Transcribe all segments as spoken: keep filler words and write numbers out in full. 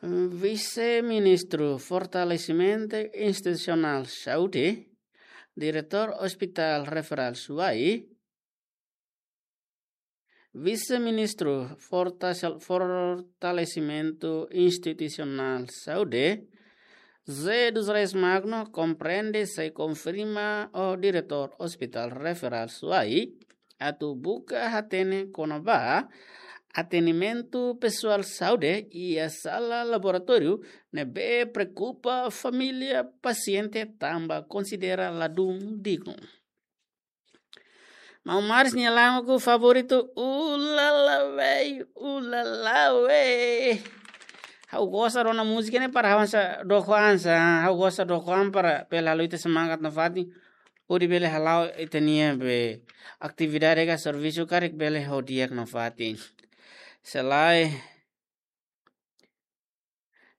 Vise-Ministru Fortalesimentu Institusionál Saúde, Diretór Hospital Referál Suai, Vise-Ministru Forta-, Fortalesimentu Institusionál Saúde, José dos Reis Magno, komprende sei konfirma ho Diretór Hospital Referál Suai atu buka hatene kona-ba atendimentu pesoál saúde iha sala laboratóriu ne'ebé preokupa família pasiente tanba konsidera ladún dignu. Maun Maris nia lagu favoritu, Ulala Wei, Ulala Wei. Ha'u gosta rona múzika ne'e para ha'u hanesan dook an sa, ha'u gosta dook an para bele halo ita semangat nafatin. Hodi bele hala'o ita-nia be atividade ka servisu karik bele ho di'ak nafatin. Se lae,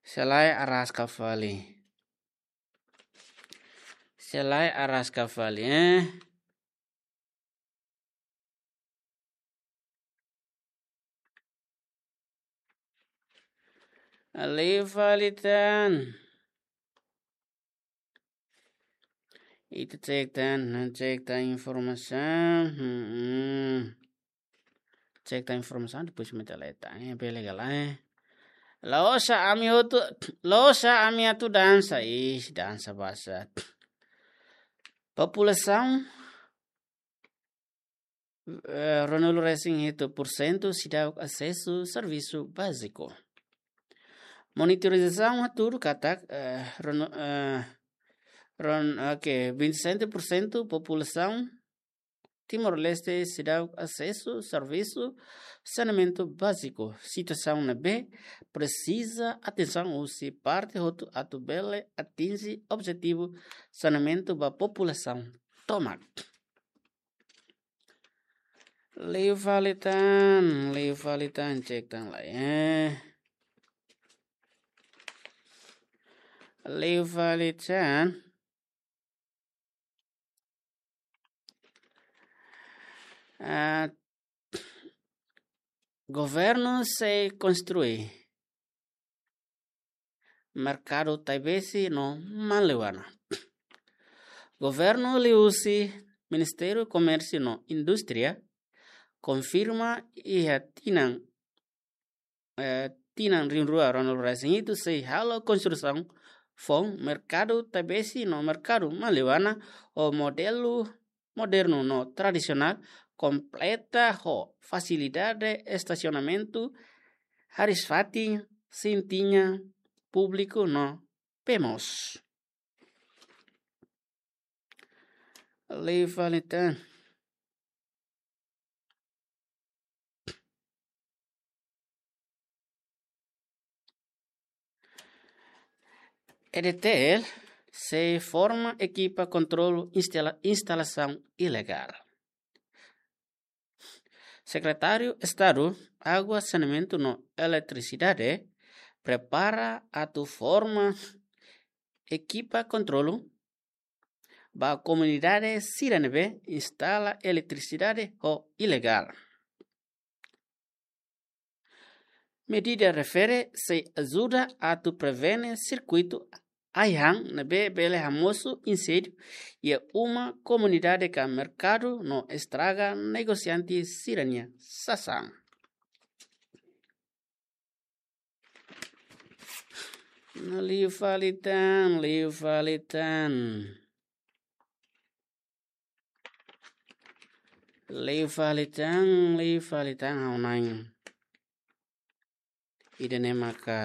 se lae araska fali. Se lae araska fali, eh. Liu fali tan. Ita cek tan, cek tan informasaun. Hmm. Cek tan informasaun, depois ita leta. Eh, bele ka lae. La'ós ami hotu, la'ós ami atu dansa. Ih, dansa basa. Populasaun, eh, ruanulu resin hitu por sentu seidauk asesu servisu báziku. Monitorizasaun hatudu katak, eh, ruanu-, eh, ruan-, oke, vinte e sete por cento populasaun Timor-Leste seidauk asesu servisu saneamentu báziku. Situasaun ne'ebé presiza atensaun husi parte hotu atu bele atinje objetivu saneamentu ba populasaun tomak. Liu fali tan, liu fali tan, cek tan lai, eh. Liu fali tan. Ah, governu sei konstrui merkadu Taibesi no Maliwana. Governu liuhusi Ministériu Komérsiu no Indústria konfirma iha tinan, eh, tinan rihun rua ruanulu resin hitu sei halo konstrusaun foun merkadu Taibesi no merkadu Maliwana ho modelu modernu no tradisionál, kompleta ho fasilidade estasionamentu, hariis-fatin, sintiña públiku no bee moos. Liu fali tan. E D T L sei forma ekipa kontrolu instala-, instalasaun ilegál. Sekretáriu Estadu Água, Saneamentu no Eletrisidade prepara atu forma ekipa kontrolu ba komunidade sira ne'ebé instala eletrisidade ho ilegál. Medida refere sei ajuda atu prevene sirkuitu ai-han ne'ebé bele hamosu inséndiu iha uma, komunidade ka merkadu no estraga negosiante sira-nia sasán. No liu fali tan, liu fali tan. Liu fali tan, liu fali tan, ha'u-nia ida-ne'e maka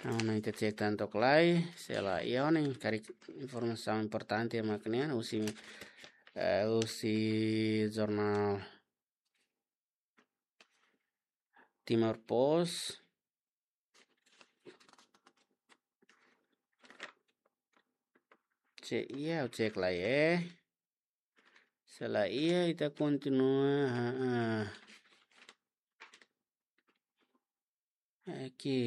ha'u-nia ita cek tan took lai, se lae iha ne'e karik informasaun importante mak ne'e husi, eh, husi jornál Timor Post. Se iha, ha'u cek lai, eh. Se lae iha, ita kontinua, ha, ha. Oke.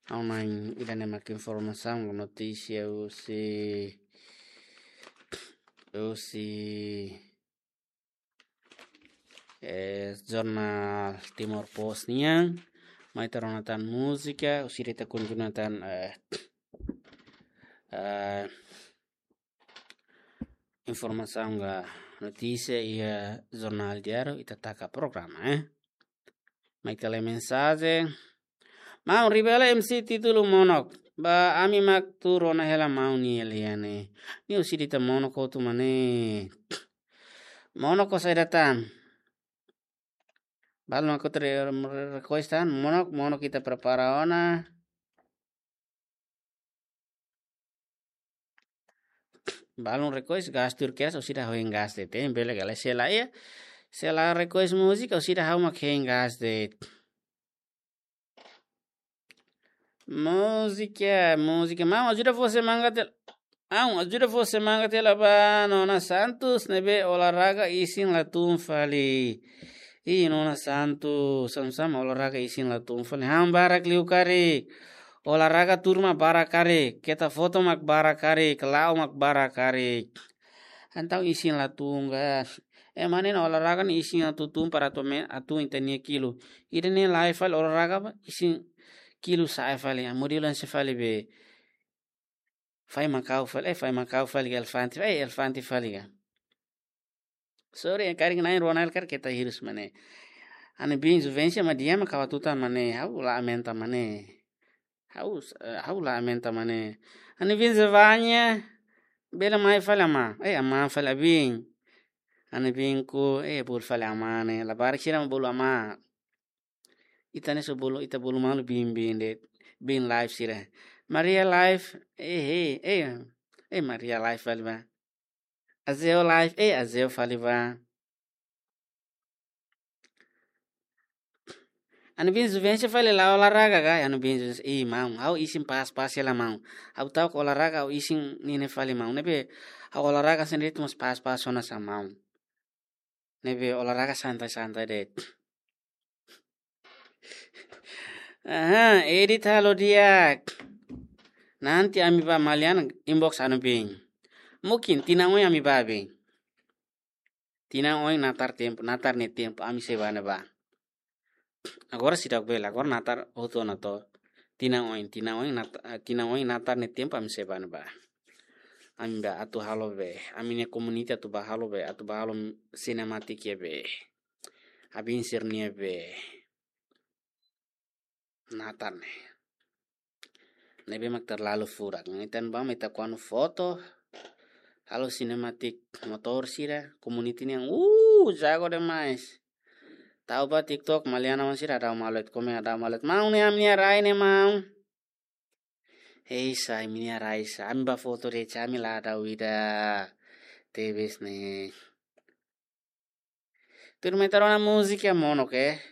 Ha'u-nia ida-ne'e mak informasaun, notísia husi Husi, eh, jornál Timor Post nian, mai ita rona tan múzika, husi ita kontinua tan, eh, eh, informasaun ka notísia iha jornál diáriu, ita taka programa, eh. Mai ita lee mensajen. Maun, Ribela M C títulu Monok. Ba ami mak tuur ona hela maun nia lia ne'e. Nia husi ita Monok hotu mak ne'e. Monok ho saida tan? Balu mak hotu re-, re-, request tan. Monok, Monok ita prepara ona. Balun request gas tuir kedas, orsida ha'u hein gas de'it, bele gale sela ia. Sela request múzika, orsida ha'u mak hein gas de'it. Múzika, múzika. Maun, ajuda fó semangat hela. Maun, ajuda fó semangat hela ba Nona Santos, ne'ebé olahraga isin la tun fali. Ih, Nona Santos, sama-sama olahraga isin la tun fali. Han barak liu karik. Olahraga tuur mak barak karik. Keta foto mak barak karik. La'o mak barak karik. Entaun isin la tun ka. Eh, mane na olahraga ne'e isin atu tun para atu me-, atu ita-nia kilu. Ida-ne'e la'o fali olahraga ba, isin kilu sa'e fali. Ah, modelu hanesan fali be. Fai makau fali, eh, fai makau fali ka elefante, eh, elefante fali ka. Sorry, karik na'in rua na'in karik keta hirus mak ne'e. Ha'u-nia biin Juvencia mak di'ak mak kawatutan mak ne'e, ha'u la aumenta mak ne'e. Ha'u, eh, ha'u la aumenta mak ne'e. Ha'u-nia biin Zevanya, bele mai fali amá. Eh, amá fali ha'u-nia biin. Ha'u-nia biin ku, eh, bolu fali amá ne'e. Labarik sira mak bolu amá. Ita ne'e só bolu, ita bolu malu biin-biin de'it, biin live sira. Maria live, eh, eh, eh, eh, Maria live fali ba. Azeo live, eh, Azeo fali ba. Ha'u-nia biin Juvencia fali la'o olahraga ka, ha'u-nia biin Juvencia, ih, maun, ha'u isin pas-pas hela maun. Ha'u ta'uk olahraga, ha'u isin ne'e fali maun. Ne'ebé, ha'u olahraga sendiri tu mas pas-pas ona sa maun. Ne'ebé olahraga santai-santai de'it. Aha, edit halo di'ak. Nanti ami ba Maliana inbox ha'u-nia biin. Mungkin tinan oin ami ba biin. Tinan oin natar tempu, natar nia tempu, ami sei ba ne'ebá. Agora seidauk bele, agora natar hotu ona to. Tinan oin, tinan oin nat-, eh, tinan oin natar nia tempu ami sei ba ne'ebá. Ami ba atu halo be, ami-nia community atu ba halo be, atu ba halo sinematik iha be. Abin sira-nia be. Natar ne'e. Ne'ebé mak terlalu furak. Ita-nia ba mak ita kuandu foto. Halo sinematik motór sira, community nian. Uh, jago demais. Tau ba TikTok, Maliana wan sira, dau malet, komen dau malet. Maun ne'e ami-nia rai ne'e maun. Hei, sa ami-nia rai sa. Ami ba foto de'it, ami la dau ida. Tebes ne'e. Tuirmai ita rona múzika Monok, eh.